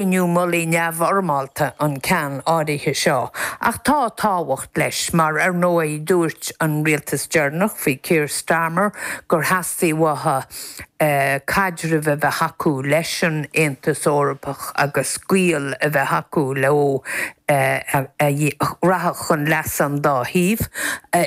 Cruinniú mullaigh neamhfhoirmeálta an ceann áirithe seo, ach tá tábhacht leis mar, ar ndóigh, dúirt an rialtas deireanach faoi Keir Starmer gur theastaigh uathu caidreamh a bheith acu leis an Aontas Eorpach agus gaol a bheith acu leo a rachadh chun leasa an dá thaobh.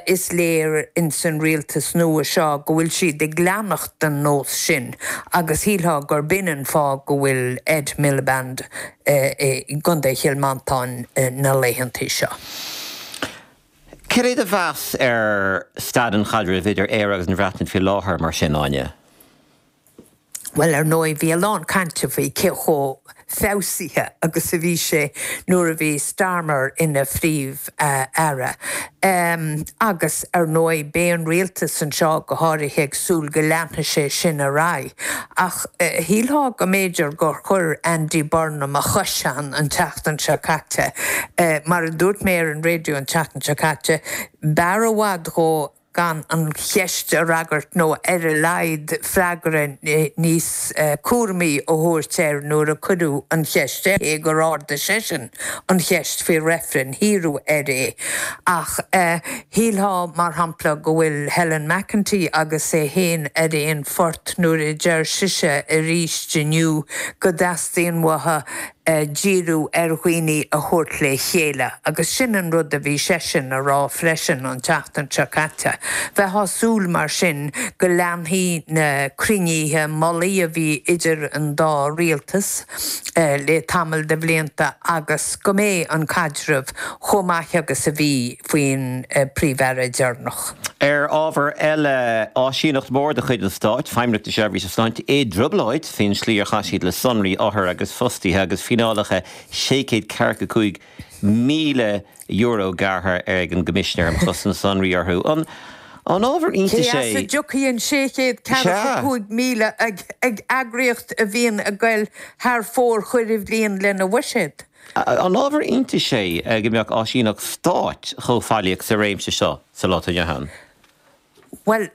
Is léir ins an rialtas nua seo go bhfuil siad ag leanacht den nós sin agus shílfeá gurb in an fáth go bhfuil Ed Miliband i gContae Chill Mhantáin na laethantaí seo. Cad é do mheas ar staid an chaidrimh idir Éire agus an Bhreatain faoi láthair, mar sin, Áine? Bhuel, ar ndóigh, bhí a lán cainte faoi cé chomh feabhsaithe agus a bhí sé nuair a bhí Starmer ina Phríomh-Aire. Agus, ar ndóigh, beidh an rialtas anseo go háirithe ag súil go leanfaidh sé sin ar aghaidh. Ach shílfeá go mb'fhéidir gur chuir Andy Burnham a chois ann an tseachtain seo caite. Mar a dúirt mé ar an raidió an tseachtain seo caite, b'fhearr i bhfad dhó gan an cheist a fhreagairt nó ar a laghad freagra níos cúramaí a thabhairt air nuair a cuireadh an cheist air, cé gur ardaigh seisean an cheist faoi reifreann, hiarradh air é. Ach shílfeá, mar shampla, go bhfuil Helen McEntee agus é féin ar aon phort nuair a deir sise arís inniu go dteastaíonn uathu díriú ar dhaoine a thabhairt le chéile agus sin an rud a bhí seisean a rá freisin an tseachtain seo caite. Bheifeá ag súil mar sin go leanfaidh na cruinnithe mullaigh a bhí idir an dá rialtas le tamall de bhlianta agus go mbeidh an caidreamh chomh maith agus a bhí faoin Príomh-Aire deireanach. Ar ábhar eile, áisíneacht mhór de chuid an Stáit, Feidhmeannacht na Seirbhíse Sláinte, i dtrioblóid faoin slí ar chaith siad le sonraí othar agus fostaithe agus fíneálacha €645,000 gearrtha ag an gCoimisinéir um Chosaint Sonraí orthu. An ábhar iontais é? Cé as a dtiocfaidh an 645,000 ag eagraíocht a bhíonn ag goil thar fóir chuile bhliain lena bhuiséad? An ábhar iontais é go mbeadh áisíneacht stáit chomh faillíoch sa réimse seo sa lá atá inniu ann? Bhuel,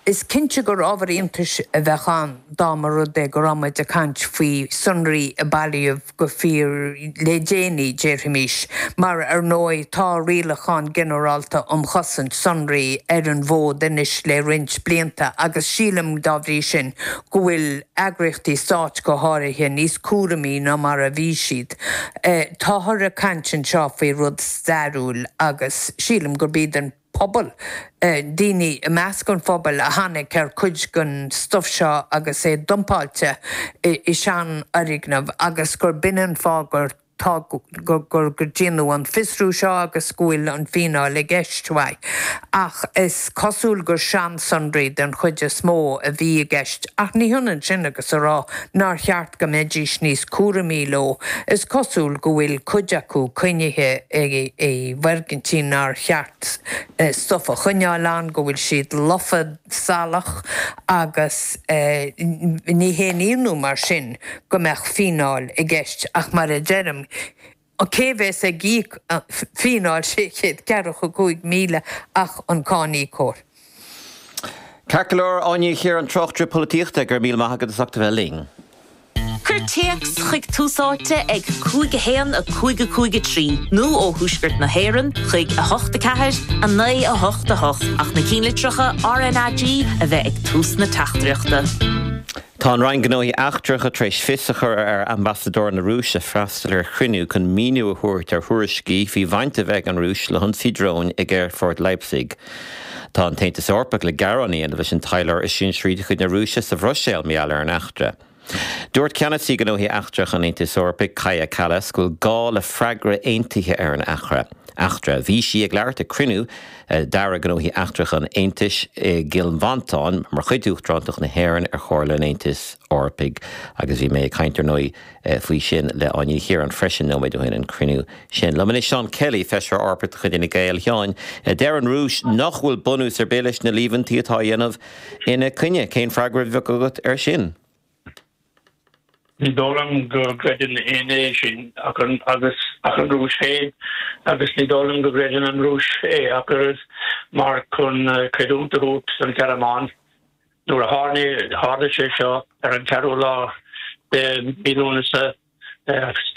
is cinnte gur ábhar iontais a bheadh ann dá mba rud é go raibh muid ag caint faoi sonraí a bailíodh go fíor le déanaí, déarfaimis, mar ar ndóigh tá Rialachán Ginearálta um Chosaint Sonraí ar an bhfód anois le roinnt blianta agus sílim, dá bhrí sin, go bhfuil eagraíochtaí stáit go háirithe níos cúramaí ná mar a bhí siad. Táthar ag caint anseo faoi rud stairiúil agus sílim gurb iad an pobal, daoine i measc an phobail a tháinig ar chuid den stuif seo agus é dumpáilte i seanfhoirgneamh agus gur b'in an fáth gur tá gur gur déanadh an fiosrú seo agus go bhfuil an fíneáil i gceist uaidh. Ach is cosúil gur seansonraí den chuid is mó a bhí i gceist ach ní hionann sin agus a rá nár cheart go mbeidís níos cúramaí leo. Is cosúil go bhfuil cuid acu coinnithe i bhfoirgintí nár cheart stuif a choinneáil ann, go bhfuil siad lofa salach agus ní haon ionadh mar sin go mbeadh fíneáil i gceist ach mar a deirim, cé bheas ag íoc fíneáil 645,000 ach an cáiníocóir? Ceart go leor, Áine Ní Chiaráin, tráchtaire polaitíochta, go raibh míle maith agat as ucht a bheith linn. Cuir téacs chuig Tús Áite ag 5 1 5 5 3 nó ó Thuaisceart na hÉireann chuig 8 4 9 8 8 ach na cinnlitreacha RnaG a bheith ag tús na teachtaireachta. Tá an Roinn Gnóthaí Eachtracha tar éis fios a chur ar Ambasadóir na Rúise freastal ar chruinniú chun míniú a thabhairt ar thuairiscí faoi bhaint a bheith ag an Rúis le hionsaí dróin ag aerfort Leipzig. Tá an tAontas Eorpach le gearán a dhéanamh leis an taidhleoir is sinsearaí de chuid na Rúise sa Bhruiséil mar gheall ar an eachtra. Dúirt Ceannasaí Gnóthaí Eachtracha an Aontais Eorpaigh, Kaja Kallas, go bhfuil gá le freagra aontaithe ar an eachtra. Bhí sí ag labhairt ag cruinniú d'Airí Gnóthaí Eachtracha an Aontais i gCill Mhantáin mar chuid d'Uachtarántacht na hÉireann ar Chomhairle an Aontais Eorpaigh agus bhí mé ag caint, ar ndóigh, faoi sin le Áine Ní Chiaráin freisin nóiméad ó shin, an cruinniú sin. Liom anois Seán Kelly, Feisire Eorpach de chuid Fhine Gael. A Sheáin, deir an Rúis nach bhfuil bunús ar bith leis na líomhaintí atá á dhéanamh ina coinne. Cén freagra a bheadh agat air sin? Ní dóigh liom go gcreideann éinne é sin ach an agus ach an Rúis féin agus ní dóigh liom go gcreideann an Rúis é ach oiread mar chun creidiúint a thabhairt don Ghearmáin nuair a tharla sé seo ar an ceathrú lá de mhí Lúnasa.